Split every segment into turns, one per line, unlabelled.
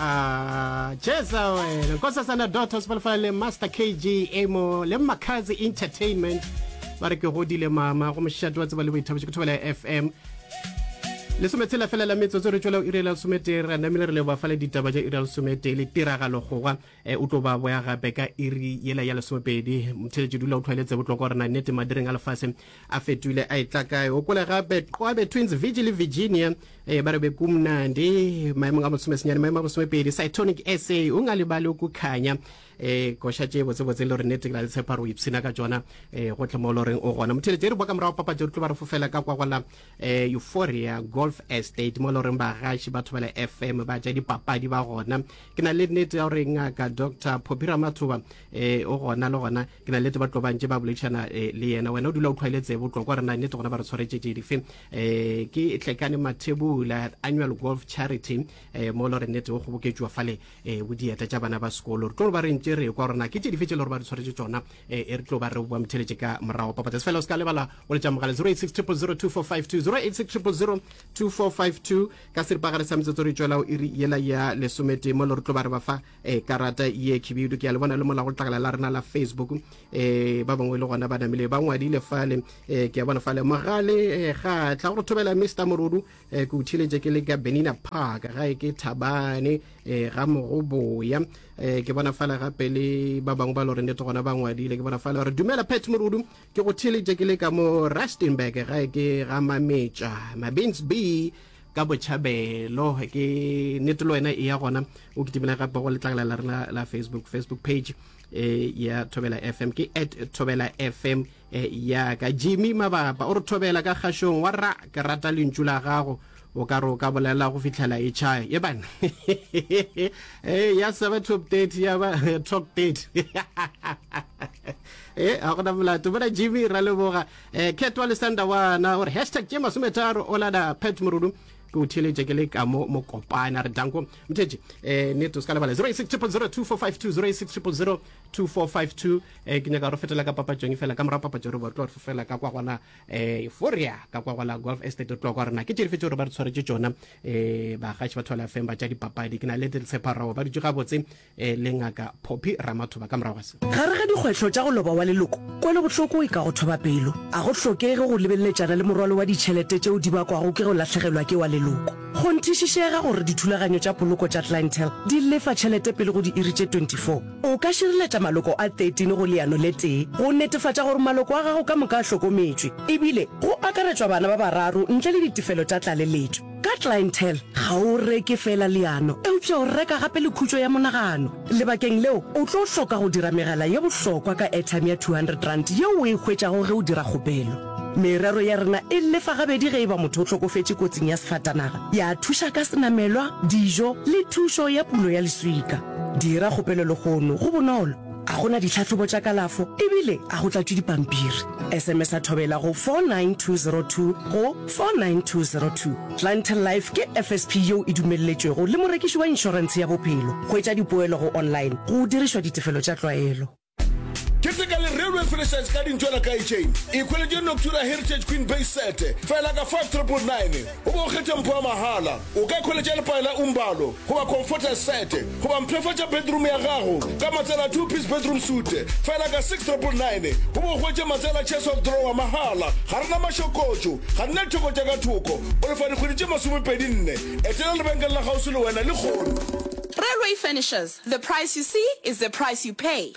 Ah, Jeza wena Nkosazana Daughters ba lefala le Master KG Amo le Makazi Entertainment ba re ke godile mama go mošate wa tseba le boithabišo ke thobela FM lesometshela fela la metsotso re tšwela iri ya lesometee re namile re leboa fale ditaba tša iri ya lesometee le tiragalo gogwa e, o tlo ba boya gape ka iri yela ya lesomepedi motheletši dula o tlwaeletse botlokwa gore na nnete madireng a lefase a fetoile a etla kae o kole gape qwabe twins vigil le virginia e, ba re be kumnandi maemong a bosomesenyane maemo a bosomepedi cytonic sa o nga lebale o kukhanya e koša tše botsebotse le gore nnete ke na le tshepa gore o ipshina ka tšona um gotlhe mo le goreng o gona motheletši e re boa ka morago papatši re tlo ba re fofela ka kwa gola eh, Euphoria Golf Estate mo le goreng bagaši ba Thobela FM ba tša dipapadi ba gona. Ke na le nnete ya gore ngaka Dr Phophi Ramathuba eh, o gona le gona ke na le nnete ba tlo ba ntše ba boledišana eh, le yena. Wena o dula o tlhwaile tsebe o tlo kwa gore na nnete gona ba re tshwaretše tše dife. Eh, ke Tlekane Mathebula Annual Golf Charity eh, mo le gore nnete o kgoboketšwa fale eh, bo dieta tša bana ba sekolo. Re tlo ba re ntše re kwa gore na ke tše dife tše le gore ba re tshwaretše tšona eh, e re tlo ba re boa motheletše ka morago papatsa fela o se ka lebala go letša mogala 086 000 2452 086 000 2452 ka seripagare sa metsotso re tšwela iri yela ya lesometee mo le re tlo ba re ba fa eh, karata ye khibidu ke a le bona le mola go tlakala la rena la facebook eh, ba bangwe le gona ba namile ba ngwadile fale eh, ke a bona fale mogale eh, ga tla go re thobela mr morodu eh, ke o theletše ke le ka benina park gae ke thabane eh, ga mogoboya eh, ke bona fale gape le ba bangwe ba le gore nete gona ba ngwadile ke bona fale gore dumela pet morudu ke go theletše ke le ka mo rustenburg gae ke ga mametša mabins b ka botšhabelo ke nete le wena e ya gona o kitimela gape go letlakala la rena la facebook facebook page eh, ya thobela fm ke at thobela fm E, ya ka Jimmy Mabapa o re thobela ka kgašong wa ra ke rata lentšu la gago o ka re o ka bolela go fihlela e tšhaya ye bana e ya seba top 30 ya ba top 30 e a gona molato bona Jimmy ra leboga e Khetwa le Sanda wana gore hashtag tše masometharo o lada Pat Morudu ke o theeletše ke le ka mo mokopana re danko mothetše um nete o se ka lebala 086 000 2452 086 000 2452 eh, ke nyaka re fetela ka papatšong fela ka morago papatšo re bo tlo re fofela ka kwa gona eh, euphoria ka kwa gola golf estate re tlo kwa rena ke tše dife tše gore ba re tshwaretše tšona eh, bagaši ba thola fm ba tša dipapadi ke na le tsheparao ba dutše gabotse eh, le ngaka poppy ramathoba ka morago ga se
Gare ga dikgwetlho tša go loba wa leloko, kwelobohloko e ka go thoba pelo. A go hlokege go lebeletšana le morwalo wa ditšhelete tšeo di bakwago ke go lahlegelwa ke wa leloko. Kgonthišišega gore dithulaganyo tša poloko tša Clientele di lefa tšhelete pele go diiri tše 24. O ka šireletša maloko a 13 go leano le tee go netefatša gore maloko a gago ka moka a hlokometšwe, ebile go akaretšwa bana ba bararo ntle le ditefelo tša tlaleletšo. Ka Clientele, ga o reke feela leano, eupša o reka gape le khutšo ya monagano. Lebakeng leo, o tlo hloka go dira megala ye bohlokwa ka airtime ya R200 yeo o e hwetšago ge o dira kgopelo. Merero ya rena e lefa gabedi ge e ba motho o hlokofetše kotsing ya sefatanaga, ya thuša ka senamelwa, dijo le thušo ya pulo ya leswika. Dira kgopelo lehono, go bonolo, a go na ditlhahlobo tša kalafo ebile a go tlatšwe dipampiri. SMS-a Thobela go 49202 go 49202. Clientele Life ke FSP yeo e dumelletšwego le morekiši wa inšorentshe ya bophelo. Hwetša dipoelo go online go dirišwa ditefelo tša tlwaelo.
Keteka le Railway Furnishers ka dintšwana ka chain. Ikhweletše Noctura Heritage Queen Base Set fela ka 5999 o bo o kgethe mpho ya mahala. O ka ikhweletša lepae la Umbalo goba Comforter Set goba mpshafatša bedroom ya gago ka matsela a two-piece bedroom suite fela ka 6999 o bo o hwetše matsela chest of drawer mahala. Ga re na mašokotšo, ga re na ditheko tša ka thoko. O lefa dikgwedi tše masomepedi-nne. Etela lebenkele la kgauswi le wena lehono.
Railway Furnishers. The price you see is the price you pay.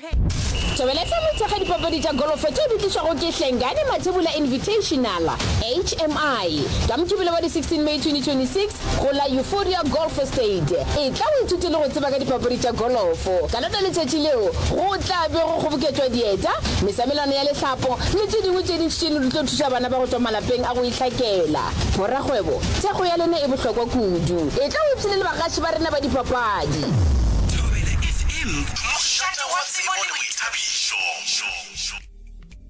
Thobela FM e thekga dipapadi tša golofo tšeo di tlišwago ke Hlengani Mathebula Invitational, HMI, ka Mokibelo wa di 16 May 2026 go la Euphoria Golf Estate. Etla o ithute le go tseba ka dipapadi tša golofo. Ka lona letšatši leo go tla be go kgoboketšwa dieta, mesamelano ya lehlapo le tše dingwe tše dintši tše di tlo thuša bana ba go tšwa malapeng a go itlhakela. Borakgwebo, thekgo ya lena e bohlokwa kudu. Etla o ipshine le bagaši ba rena ba dipapadi.
Thobela FM, mošate wa tsebo le boithabišo.